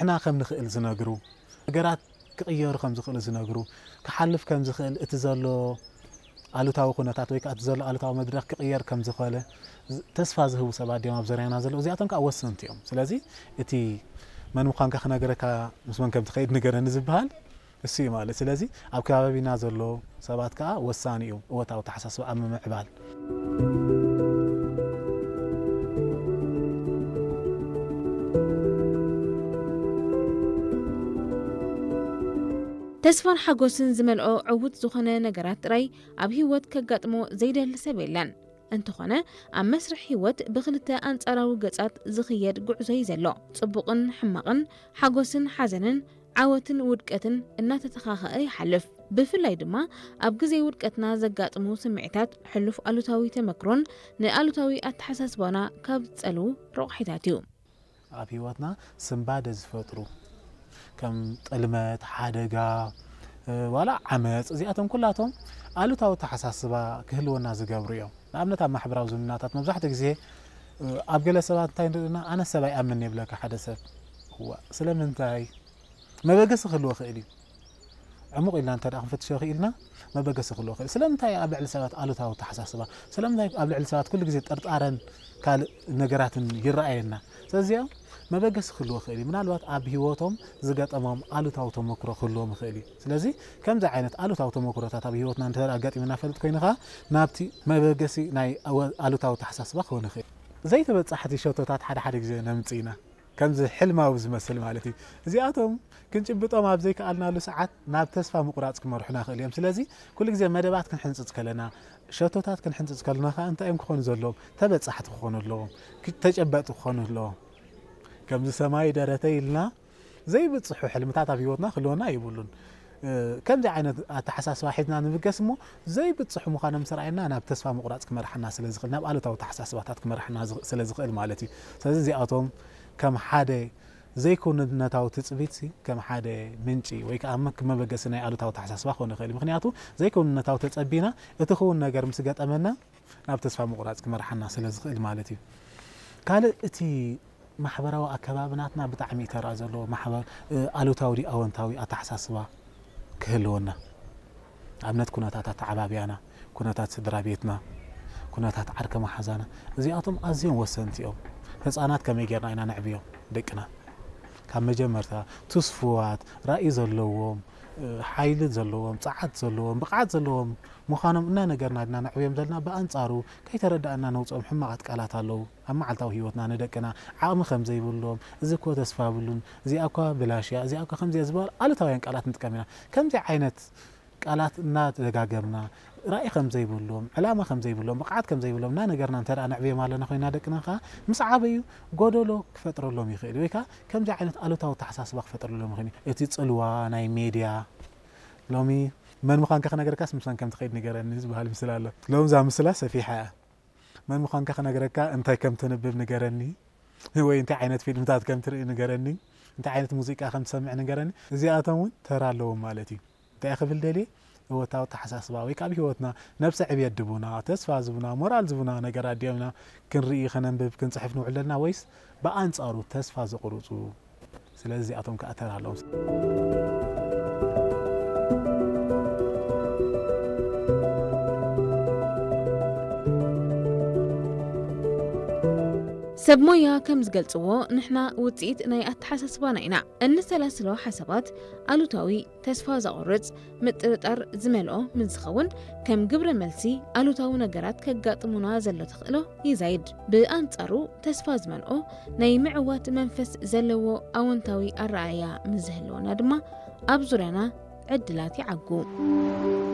ንሕና ከም ንኽእል ዝነግሩ፣ ነገራት ክቕየሩ ከም ዝኽእሉ ዝነግሩ፣ ክሓልፍ ከም ዝኽእል፣ እቲ ዘሎ ኣሉታዊ ኩነታት ወይ ከዓ እቲ ዘሎ ኣሉታዊ መድረኽ ክቕየር ከም ዝኽእለ ዝ-፣ ተስፋ ዝህቡ ሰባት ድዮም ኣብ ዙርያና ዘለዉ። እዚኣቶም ከዓ ወሰንቲ እዮም። ስለዚ እቲ መን ምዃንካ ክነግረካ፣ ምስ መን ከም ትኸይድ ንገረኒ ዝበሃል እሱ እዩ ማለት። ስለዚ ኣብ ከባቢና ዘሎ ሰባት ከዓ ወሳኒ እዩ እወታዊ ኣተሓሳስባ ኣብ ምምዕባል። ተስፋን ሓጎስን ዝመልኦ ዕዉት ዝኾነ ነገራት ጥራይ ኣብ ህይወት ከጋጥሞ ዘይደሊ ሰብ የለን። እንተኾነ፣ ኣብ መስርሕ ህይወት ብኽልተ ኣንጻራዊ ገጻት ዝኽየድ ጉዕዞ እዩ ዘሎ። ጽቡቕን ሕማቕን፣ ሓጎስን ሓዘንን፣ ዓወትን ውድቀትን እናተተኻኸአ ይሓልፍ። ብፍላይ ድማ ኣብ ግዜ ውድቀትና ዘጋጥሙ ስምዒታት፣ ሕሉፍ ኣሉታዊ ተመክሮን ንኣሉታዊ ኣተሓሳስባና ካብ ዝጸልዉ ረቑሒታት እዩ። ኣብ ህይወትና ስንባደ ዝፈጥሩ ከም ጥልመት፣ ሓደጋ፣ እ፣ ዋላ ዓመፅ፣ እዚኣቶም ኩላቶም ኣሉታዊ ኣተሓሳስባ ክህልወና ዝገብሩ እዮም። ንኣብነት ኣብ ማሕበራዊ ዝምድናታት መብዛሕትኡ ግዜ፣ እ፣ ኣብ ገለ ሰባት እንታይ ንርኢ ኣለና? ኣነ ሰብ ኣይኣምን ይብለካ ሓደ ሰብ። እዋ፣ ስለምንታይ? መበገሲ ክህልዎ ይኽእል እዩ። ዕሙቕ ኢልና እንተ ደኣ ክንፈትሾ ክኢልና፣ መበገሲ ክህልዎ ይኽእል። ስለምንታይ ኣብ ልዕሊ ሰባት ኣሉታዊ ኣተሓሳስባ? ስለምንታይ ኣብ ልዕሊ ሰባት ኩሉ ግዜ ጥርጣረን ካልእ ነገራትን ይረኣየና? ስለዚኦም መበገሲ ክህልዎ ይኽእል እዩ። ምናልባት ኣብ ህይወቶም ዝገጠሞም ኣሉታዊ ተመክሮ ክህልዎም ይኽእል እዩ። ስለዚ ከምዚ ዓይነት ኣሉታዊ ተመክሮታት ኣብ ህይወትና እንተ ደኣ ኣጋጢሙና ፈልጥ ኮይኑ ኸኣ ናብቲ መበገሲ ናይ ኣወ-፣ ኣሉታዊ ኣተሓሳስባ ክኸውን ይኽእል። ዘይተበጻሕቲ ሸቶታት ሓደ ሓደ ግዜ ነምጽእ ኢና። ከምዚ ሕልማዊ ዝመስል ማለት እዩ። እዚኣቶም ክንጭብጦም ኣብ ዘይከኣልናሉ ሰዓት ናብ ተስፋ ምቑራጽ ክመርሑና ይኽእሉ እዮም። ስለዚ ኩሉ ግዜ መደባት ክንሕንጽጽ ከለና፣ ሸቶታት ክንሕንጽጽ ከለና ከኣ እንታይ እዮም ክኾኑ ዘለዎም? ተበጻሕቲ ክኾኑ ኣለዎም። ክ-፣ ተጨበጥቲ ክኾኑ ኣለዎም። ከምዚ ሰማይ ደረተይ ኢልና ዘይብጽሑ ሕልምታት ኣብ ህይወትና ክህልወና የብሉን። እ፣ ከምዚ ዓይነት ኣተሓሳስባ ሒዝና ንብገስ እሞ ዘይብጽሑ ምዃኖም ምስ ረኣየና ናብ ተስፋ ምቑራጽ ክመርሓና ስለ ዝኽእል፣ ናብ ኣሉታዊ ኣተሓሳስባታት ክመርሓና ዝኽ-፣ ስለ ዝኽእል ማለት እዩ። ስለዚ እዚኣቶም ከም ሓደ ዘይክውንነታዊ ትጽቢት ሲ ከም ሓደ ምንጪ ወይ ከኣ መክ-፣ መበገሲ ናይ ኣሉታዊ ኣተሓሳስባ ክኾን ይኽእል እዩ። ምኽንያቱ ዘይክውንነታዊ ተጸቢና እቲ ክውን ነገር ምስ ገጠመና ናብ ተስፋ ምቑራጽ ክመርሓና ስለ ዝኽእል ማለት እዩ። ካልእ እቲ ማሕበራዊ ኣከባቢ ናትና ብጣዕሚ እዩ ተራ ዘለዎ። ማሕበር፣ እ፣ ኣሉታዊ ድዩ ኣወንታዊ ኣተሓሳስባ ክህልወና። ኣብነት ኩነታት ኣተዓባብያና፣ ኩነታት ስድራ ቤትና፣ ኩነታት ዓርከ መሓዛና፣ እዚኣቶም ኣዝዮም ወሰንቲ እዮም። ህጻናት ከመይ ጌርና ኢና ነዕብዮም ደቅና? ካብ መጀመርታ ትስፉዋት፣ ራእይ ዘለዎም፣ እ፣ ሓይሊ ዘለዎም፣ ጸዓት ዘለዎም፣ ብቕዓት ዘለዎም ምዃኖም እናነገርና ድና ነዕብዮም ዘለና። ብኣንጻሩ ከይተረዳእና ነውጽኦም ሕማቓት ቃላት ኣለዉ። ኣብ መዓልታዊ ህይወትና ንደቅና ዓቕሚ ከም ዘይብሎም፣ እዚ እኮ ተስፋ የብሉን፣ እዚኣ እኳ ብላሽ እያ፣ እዚኣ እኳ ከምዚ እያ ዝበሃሉ ኣሉታውያን ቃላት ንጥቀም ኢና። ከምዚ ዓይነት ቃላት እናደጋገምና፣ ራእይ ከም ዘይብሎም፣ ዕላማ ከም ዘይብሎም፣ ብቕዓት ከም ዘይብሎም እናነገርና እንተ ደኣ ነዕብዮም ኣለና ኮይና ደቅና ከኣ ምስ ዓበዩ ጎደሎ ክፈጥረሎም ይኽእል እዩ። ወይ ከኣ ከምዚ ዓይነት ኣሉታዊ ኣተሓሳስባ ክፈጥረሎም ይኽእል እዩ። እቲ ጽልዋ ናይ ሜድያ፣ ሎሚ መን ምዃንካ ክነግረካስ ምሳን ከም ትኸይድ ንገረኒ ዝበሃል ምስላ ኣሎ። ሎሚ እዛ ምስላ ሰፊሓ እያ። መን ምዃንካ ክነግረካ፣ እንታይ ከም ተንብብ ንገረኒ፣ ወይ እንታይ ዓይነት ፊልምታት ከም ትርኢ ንገረኒ፣ እንታይ ዓይነት ሙዚቃ ከም ትሰምዕ ንገረኒ። እዚኣቶም እውን ተራ ኣለዎም ማለት እዩ። እንታይ ክብል ደልየ? እወታዊ ኣተሓሳስባ ወይ ከዓ ኣብ ህይወትና ነብሰ ዕብየት ድቡና፣ ተስፋ ዝቡና፣ ሞራል ዝቡና ነገራት ድዮም ኢና ክንርኢ፣ ከነንብብ፣ ክንጽሕፍ ንውዕል ዘለና፣ ወይስ ብኣንጻሩ ተስፋ ዘቑርጹ? ስለዚ እዚኣቶም ከዓ ተራ ኣለዎም። ሰብ ሞያ ከም ዝገልጽዎ፣ ንሕና ውጽኢት ናይ ኣተሓሳስባና ኢና። እንሰላስሎ ሓሳባት ኣሉታዊ፣ ተስፋ ዘቑርጽ፣ ምጥርጣር ዝመልኦ ምስ ዝኸውን፣ ከም ግብረ መልሲ ኣሉታዊ ነገራት ከጋጥሙና ዘሎ ተኽእሎ ይዛይድ። ብኣንጻሩ፣ ተስፋ ዝመልኦ ናይ ምዕዋት መንፈስ ዘለዎ ኣወንታዊ ኣረኣእያ ምስ ዝህልወና ድማ፣ ኣብ ዙርያና ዕድላት ይዓጉ።